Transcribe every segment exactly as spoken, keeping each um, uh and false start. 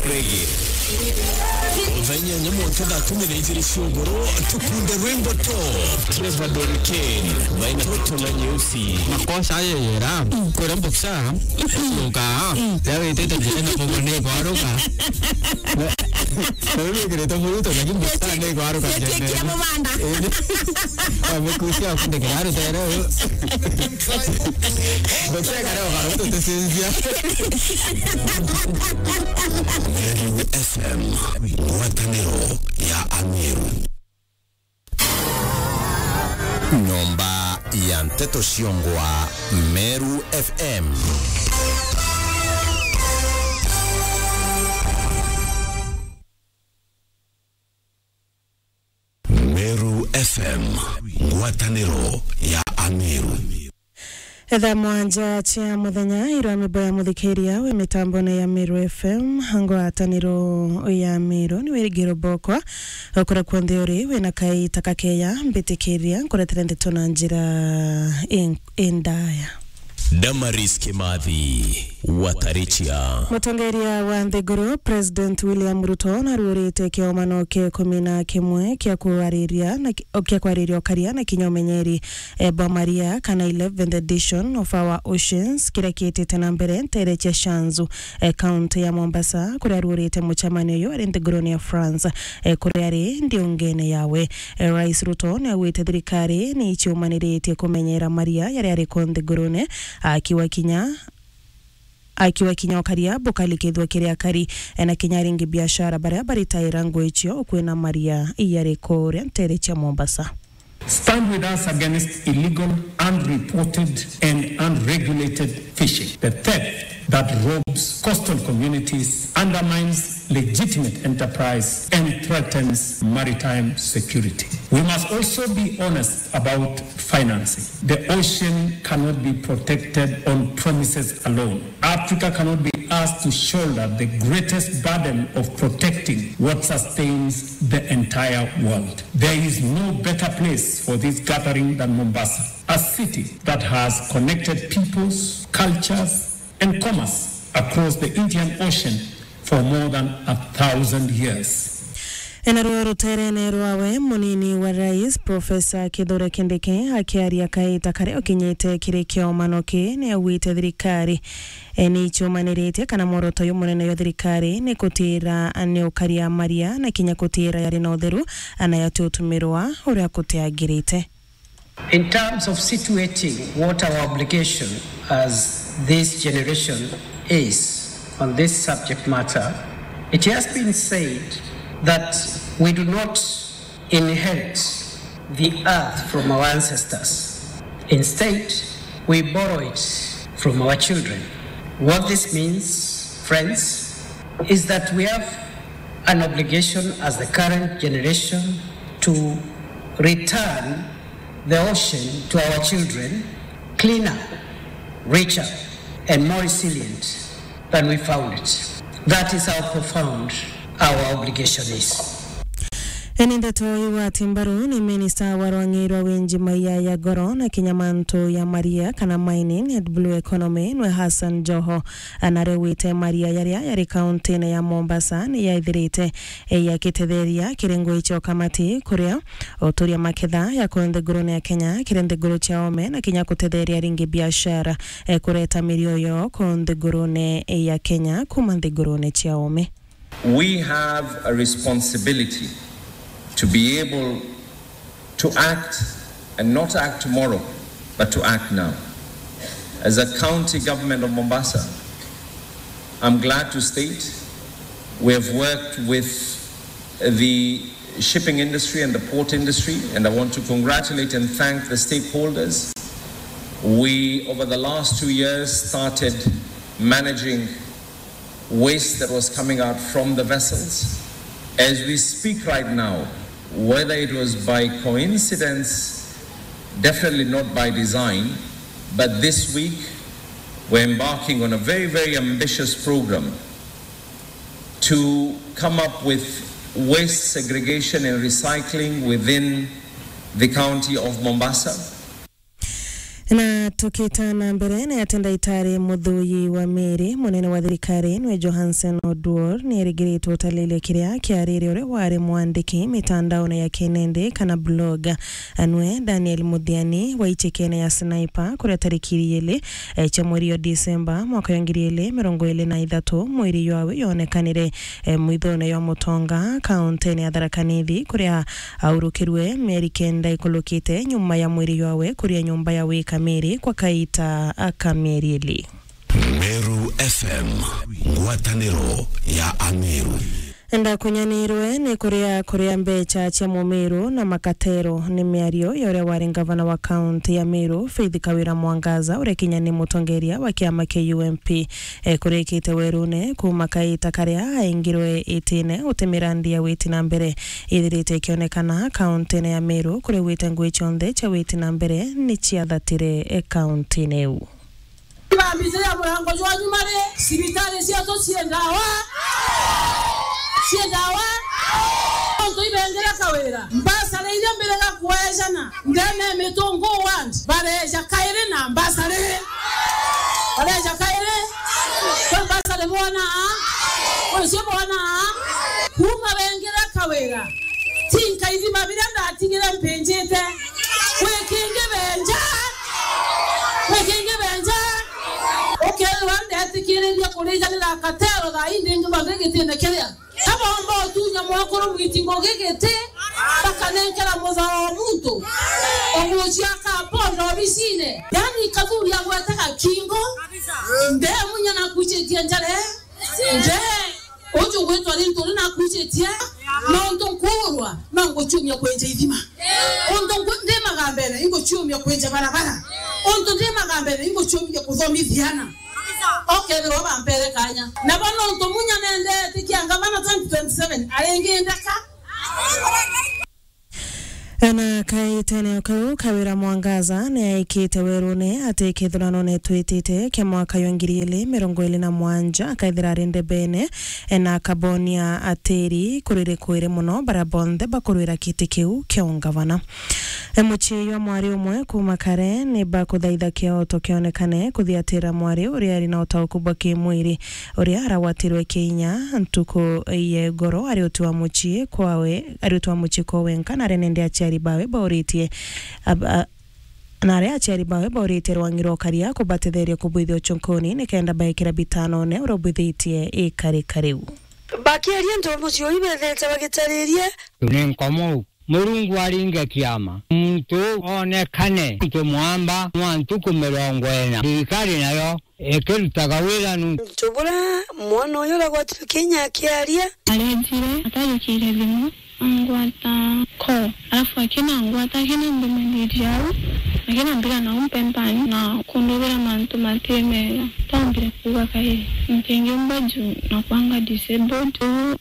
Reggae. Thaa inyanya mwanka thaa kumi na ijiri cia ugoro, tukunde rwimbo top. Trevor Doriken, baina roto na nyeusi. Makosa ayo yera, kwera mboksa, uka, ya witete njira na bobo ne kwaruka. Na, na wikirite muruto, lakini mboksa ne kwaruka. Kira mubanda. Amekusia kunde kiraru tero. Mboksa kare ukaruto tesinzia. Meru F M, ngwataniro ya Ameru. Nyomba ya nteto ciongwa Meru F M. Meru F M, ngwataniro ya Ameru. Thaa mwanja cia muthenya, irwa mimbo ya muthikiria wi mitambone ya Meru F M, ngwataniro ya Meru, ni wirigiro bokwa, okura kuonthe uri, wina kaita kakeya, mbitikiria, nkuretere ndeto na njira in-, indaya. Damaris Kimathi, Watarichia. Mutongeria wa nthiguru, President William Ruto, naruurite kiomano kia ikumi na kimwe kia kwariria na ki-, kia kwariria ukaria na kinya umenyeri, eh, bwa maria, kana eleventh edition of Our Oceans, kiria kiitite na mbere ntere cia Shanzu, eh, kaunti ya Mombasa, kuria aruurite mucemanio uyu ari nthigurune ya France, eh, kuria ari ndiungene yawe. Eh, Rais Ruto niaugite thirikari ni iciumaniritie kumenyera maria yaria ari ku nthigurune, akiwa kinya, akiwa kinya ukaria bukalikithwa kiri akari, eh, na kinya aringi biashara baria baritaira nguo icio kwina maria yari kuria ntere cia Mombasa. Stand with us against illegal, unreported and unregulated fishing. The theft that robs coastal communities undermines legitimate enterprise and threatens maritime security. We must also be honest about financing. The ocean cannot be protected on promises alone. Africa cannot be asked to shoulder the greatest burden of protecting what sustains the entire world. There is no better place for this gathering than Mombasa, a city that has connected peoples, cultures, and commerce across the Indian Ocean for more than a thousand years. Ena ruo ruterene rwawe, munini wa rais, Professor Kithure Kindiki, akiaria kaita karia ukinyite kiri kiomano ki, ni augite thirikari, e, ni icumaniritie kana mworoto uyu munene wa thirikari ni kutira ni ukaria maria na kinya kutira yari na utheru, ana yatutumirwa uria kutiagirite. In terms of situating what our obligation as this generation is on this subject matter, it has been said that we do not inherit the earth from our ancestors. Instead, we borrow it from our children. What this means, friends, is that we have an obligation as the current generation to return the ocean to our children cleaner, richer, and more resilient than we found it. That is how profound our obligation is. Eni ndeto igwati mbaru ni minista wa rwang'i rwa winji maia ya goro na kinya mantu ya maria kana mining and blue economy nwe Hassan Joho. Anaregwite maria yaria yari kauntine ya Mombasa ni yaithirite, e, yakitetheria kirengo icio kamati kuria uturia maketha ya ku nthigurune ya Kenya kiri nthiguru cia ome na kinya kutetheria ringi biashara, e, kureta mirio yo ku nthigurune ya Kenya kuma nthigurune cia ome. We have a responsibility to be able to act and not act tomorrow, but to act now. As a county government of Mombasa, I'm glad to state we have worked with the shipping industry and the port industry, and I want to congratulate and thank the stakeholders. We, over the last two years, started managing waste that was coming out from the vessels. As we speak right now, whether it was by coincidence, definitely not by design, but this week we're embarking on a very, very ambitious program to come up with waste segregation and recycling within the county of Mombasa. Na Tukita na mbere, ni ati ndaitari Muthuyi wa Miri, munene wa thirikari, nwe Johansen Oduor, ni erigiritwe utalilia kiria kiarire uria wari mwandiki mitandaone ya kinindi kana blog, anwe Daniel Muthiani wa icekene ya Sniper, kuria tariki iri, eh, cia mweri wa Disemba mwaka wa ngiri ili mirongo ili na ithatu, mwiri jwawe yonekanire, eh, mwithone jwa Mutonga, kauntine ya Tharaka Nithi, kuria aurukirwe mieri kenda ikurukite nyuma ya mwiri jwawe kuria nyumba ya wika miri kwa kaita ka mieri ili. Meru F M, ngwataniro ya Ameru. Ndakunyanirwe ni kuria kuria mbecha cia Mumiru na makatero ni miario ya uria wari ngavana wa kaunti ya Meru, Faith Kawira Mwangaza, uria kinya ni mutongeria wa kiama kia U M P. E, kurikite werune kuuma kaita karia aingirwe itine, guti mirandi ya witi na mbere ithirite ikionekana kauntine ya Meru, kuria gwite ngui cionthe cia witi na mbere ni ciathatire, e, kauntine iu. Ibambite ya murango jwa nyuma ri, cibitari cietu cii ndawa, cii ndawa, ontu ibengire Kawira. Mbasari iria mbirega kwejana ndene Mitungu ward, bareja kairi na mbasari. Bareja kairi. Kwa mbasari bwana. Kwa cio bwana. Kuuma bengire Kawira, tinka ithima biria ndatigire mpinjite. Gwi kingi benja. Gwi kingi benja. Ukethirwa ndetikiriria kurijanira katero thaa ii ndingi bathi gitine kiria. Kabomba utunya mwakuru mwiti ngugi giti, bakanenkera muthao wa muntu. Ogucia kaponda obisine. Yani kathuri agwetaga kingo. Ndemunya nakucitie njare. Nde. Uju gwitwa rintu ri nakucitie. Nontu nkuurwa, no nguciumia kwenja ithima. Untu nku-, ndi magambene, inguciumia kwenja barabara. Untu ndi magambene, inguciumia kuthomithia ana. Okethirwa bampere kanya. Nabo nontu munya nendetikia ngavana twenty twenty-seven, aringindeka. Ana kaitene kau, Kawira Mwangaza ni aikite werune ati kithurano ni twitite kia mwaka wa ngiri ili mirongo ili na mwanja, akaithira ari ndebene, na akabonia atiri kuriri kwiri muno baria bonthe bakurwira kiti kiu kia ungavana. E, mucii jwa mwari umwe kuuma kare ni bakuthaitha kioto kionekane kuthiatira mwari uria ari na utauku bwa kimwiri, uria aragwatirwe kiinya ntuku ya igoro ari uti wa mucii kwawe, ari uti wa mucii kwa wenka, na aria nende aciari bawe bauritie, ab-, a-, na aria aciari bawe bauritie rwangi rwa ukaria kubatetheria kubwithia uchunkuni nikenda baikira bitanone uria ubwithitie ikarika riu. Bakiaria ntomo cio ibethete bagitaririe. Ni nkomou. Murungu aringe kiama. Muntu onekane. Muntu mwamba, mwa ntuku mirongo ina. Thirikari nayo ikirutaga wira nu. Muntu bura mwana uyu uragwatirwe kinya akiaria. Arejire, atajukire thimu, angwata ko. Alafu akina ngwata, akina mbimenderia au, akina mbira na umpempani na kundubira mantu mati mega. Tambire kuuga kairi, ntingiumba juu na kwanga disabled.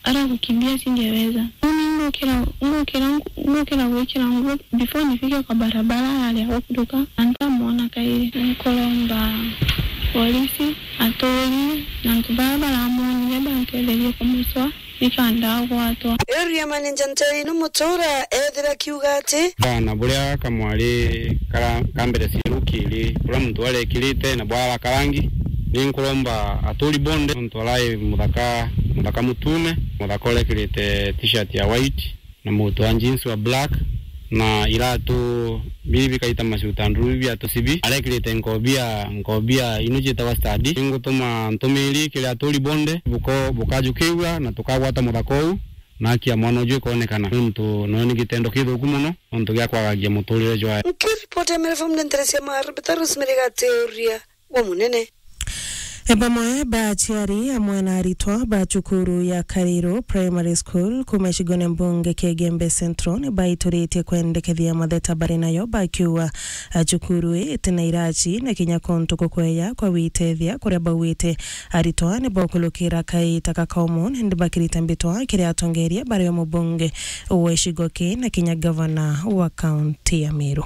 Aragukimbia Singereza. Uni ngukira, ngukira, ngukira gwikira nguo before nifike kwa barabara, aria gukuruka, na ntamwona kairi. Nkuromba polisi, aturi, na antu baria baramwonire bantetherie kumucwa, nikenda agwatwa. Area manager Nteri ni Mutura ethira akiuga ati, bana buria kamwari kara-, ka mbere cieru kiri, buria muntu arekirite na bwara karangi, ni nkuromba aturi bonde, muntu arai muthaka, muthaka mutune, muthaka urekirite t-shirt ya white, na mutu wa jeans wa black, na iratu bibi kaita macuta nduru biatu cibi, arekirite nkobia, nkobia ino cietagwa study. Ningutuma ntumiri kiri aturi bonde, buko-, bukajukiwa na tukagwata muthaka uu, na haki ya mwana uju ikonekana. Nontu noyo ni gitendo kithuku muno, nontu gia kwagagia muturire jwae. Nkiripoti ya Meru F M ndetere cia Maru, Peter Rosemary Gateria. Wa munene. E, bamwe ba aciari amwe na aritwa ba cukuru ya Kariru Primary School kuuma gicigone mbunge kia Igembe Central ni baituritie kwendekethia matheta bari nayo, bakiuga, a, cukuru ii itina iraci na kinya kuntu kukweya kwa gwitethia, kuria baugite aritwa ni bakulukira kaita ka kaumu, nindi bakirita mbitwa kiri atongeria bario mubunge wa gicigo kii na kinya gavana wa kaunti ya Meru.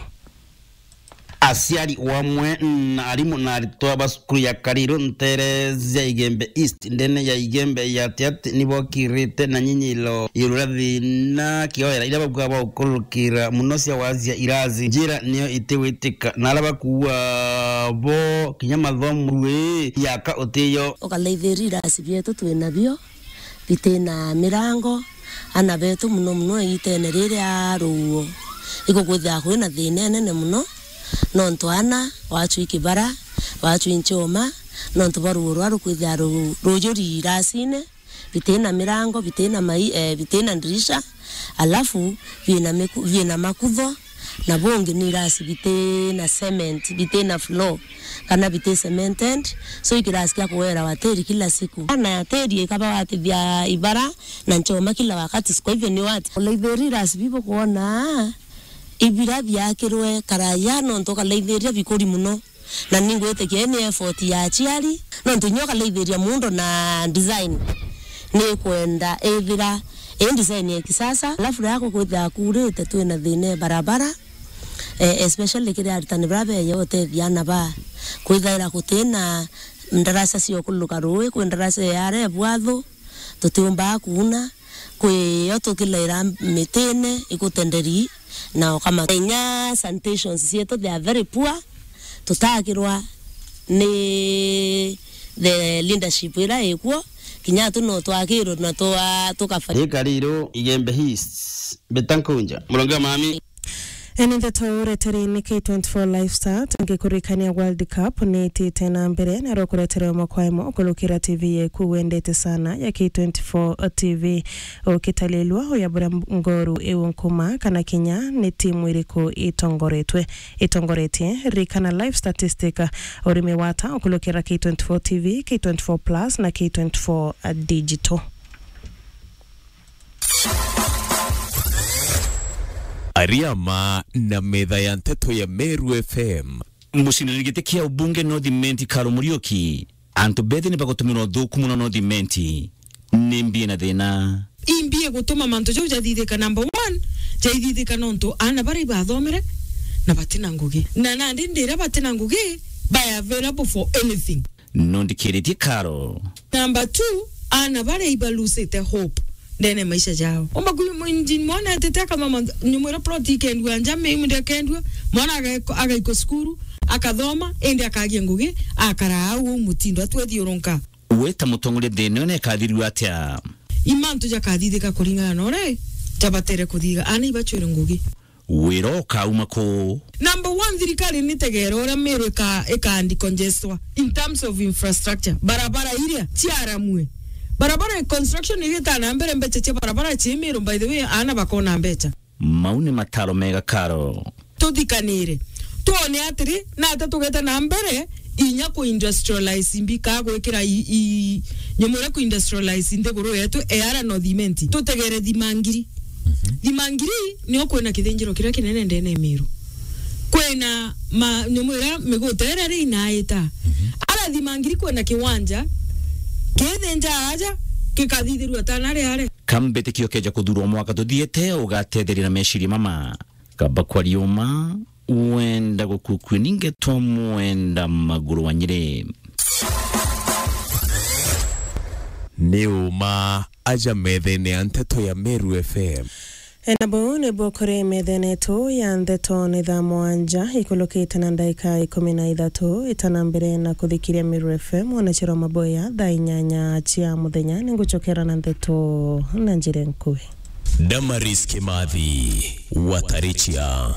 Aciari wamwe na arimu na aritwa ba cukuru ya Kariru ntere cia Igembe East, ndene ya Igembe ya Tiaty, ni bokirite na nyinyilo iguru ria thina kioera iria bakuuga bagukurukira muno cia wacia irasi. Njira niyo itiwitika na aria bakuuga bo kinya mathomo rui yaka utiyo. Ukalaithiria irasi bietu twinabio bitina mirango, ana betu muno muno igitene riria ruuo, igukwithira kwina thina inene muno, nontu ana waachwi kibara, waachwi nchoma, nontu bwa ruuo ruria rukwithira ru-, rujuri irasine, bitina mirango, bitina mai-, eh, bitina ndirisha, alafu biina miku-, biina makutho, na bungi ni irasi bitina cement, bitina floor, kana biti cemented, so ikirasi kia kuwerawa tiri kila siku. Na tiri ikaba watithia ibara na nchoma kila wakati, kwa hivyo ni wati. Ulaithiri irasi bibu kuona ibira biakirwe karaya, nontu ukalaithiria bikuri muno. Na ningwitikia ni effort ya aciari, nontu inya ukalaithiria muundo na design, ni kwenda ithira i design ya kisasa. Alafu ria kukwithira kuurite, twina thina e barabara, eh, especially kiri aritani bara beya utethia ana ba kwithaira gutina ndaraca cia ukuluka rui, kwi ndaraca ya aria e bwathu, tutiumbaa kuuna, kwi yo tukilaira mitine ikutenderi na ukama. Inya sanitations cietu, they are very poor, tutakirwa ni the leadership ira ikuo, kinya tu no twakirwe na twa-, tukafanya. Ikariru Igembe East, Beta Nkunja, Murongi wa Mami. Eni ndeto ureteri ni K twenty-four Live Start, ngikurikania World Cup ni itite na mbere, na rukuretere mwa kwa imwe ukurukira T V yeku wendete sana ya K twenty-four T V. Ukitalilwa uya buria ngoru iu nkuma kana kinya ni timu iriku itongoretwe, itongoretie. Rikana live statistic, urimi wata ukulukira K twenty-four T V, K twenty-four Plus na K twenty-four Digital. Ariama na metha ya nteto ya Meru F M. Muciniri giti kia ubunge North Imenti Karo Muriuki, antu bethi ni bagutumira uthuku muno North Imenti. Ni mbi ina thina? Imbi igutuma mantu jau jathithika? Number one, jaithithika nontu ana baria ibathomere na batina ngugi. Na nandi ndiria batina ngugi, ba available for anything. Nundikiritie Karo. Number two, ana baria ibalusite hope ndene maisha jao. Umba kuyu mwinjini mwana etete akathoma nyumu iria plot ikendua nja, miu ndekendua, mwana aga-, agaikwa cukuru, akathoma, indi akagia ngugi, akara au uu mutindo, atwethiurunka. We ta mutongoria thina ino ikathirua atia? Imantu jakathithika kuringana na uria jabatere kuthiga, ana ibachwire ngugi. Wira ukauma ku? Number one, thirikari nitegere uria Meru ika-, ika decongestwa in terms of infrastructure. Barabara iria ciaramue. Barabara construction igita na mbere, mbecha cia barabara ci Meru, by the way, ana bakona mbecha. Mau ni mataro mega Karo. Tuthikanire. Twone atiri, nata tugete na mbere inya ku industrialize mbi, ka gwikira i, i, nyumu iria ku industrialize nthiguru yetu, e ara no thimenti. Tutegere Thimangiri. Thimangiri nio kwina kithinjiro kiria kinene ndene Meru. Kwina ma, nyumu iria miguta iria ri inaita. Ara Thimangiri kwina kiwanja, kithinja aja, gikathithirua tana riare. Ka mbitikio keja kuthurwa mwaka tuthiite, ugatetheria na meciria mama. Kaba kwa riuma, wenda gukukue ningetwa mwenda maguru wa Nyeri. Ni uma aja methene ya nteto ya Meru F M. Ena buu nibuo kuri methene yetu ya nteto ni thaa mwanja ikulukite na ndaika ikumi na ithatu. Itana mbere na kuthikiria Meru F M, ona chiro maboya thaa inyanya cia muthenya, ninguchokera na nteto na njira nkui. Damaris Kimathi, Watarichia.